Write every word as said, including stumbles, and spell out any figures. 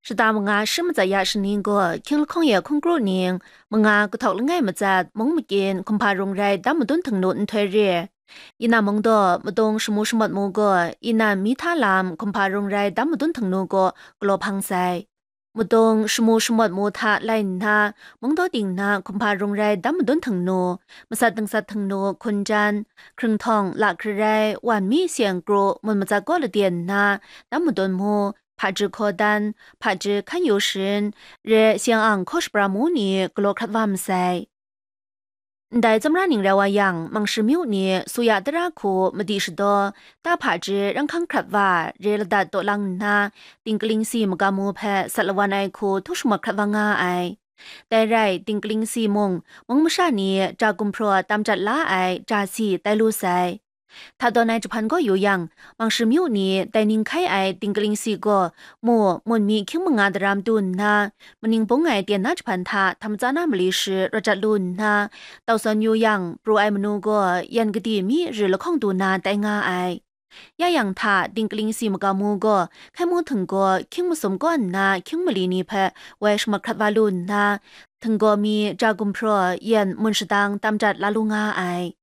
Shata manga shi matsat ya shani gaw hkying lahkawng ya hkungkru ning, manga kahtawk langai matsat mung makyin hkumhpa rung rai dam madun htingnu nhtoi re, Yina mung daw madung shamu shamawt mu gaw, inan mi hta lam hkumhpa rung rai dam madun htingnu gaw galaw hpang sai. Madung shamu shamawt mu hta lai nna, mung daw ting na hkumhpa rung rai dam madun htingnu, masat dangsat htingnu hkunjan, hkringhtawng la hkri rai wan mi seng kru mun matsat gaw laden nna, dam madun mu, hpaji hkaw dan, hpaji hkan yu sharin, re seng ang hkaw shapra mu ni galaw hkrat wa masai. Ndai tsawmra ning rai wa yang, Mangshi myu ni Suya tara hku madi shadaw, ta hpaji ranghkang hkrat wa, re ladat taw lang nna, tingkaling si magam mu hpe sat lawan ai hku htu shamat hkrat wa nga ai. Dai rai, tingkaling si mung, mung masha ni ja gumhpraw tam jat la ai ja si tai lu sai. Hta dawn ai jahpan gaw yu yang, Mangshi myu ni dai ning hkai ai tingkaling si gaw, mu, mun mi hkying manga daram du nna, maning bung ai tyen na jahpan hta htam tsa na mali shi rawt jat lu nna, tau sawn yu yang, pru ai manu gaw yan kadi mi ri lahkawng du na tai nga ai. Ya yang hta, tingkaling si magam mu gaw, hkai mu htinggaw hkying masum kaw nna hkying mali ni hpe woi shamat hkrat wa lu nna, htinggaw mi ja gumhpraw yan mun shadang tam jat la lu nga ai.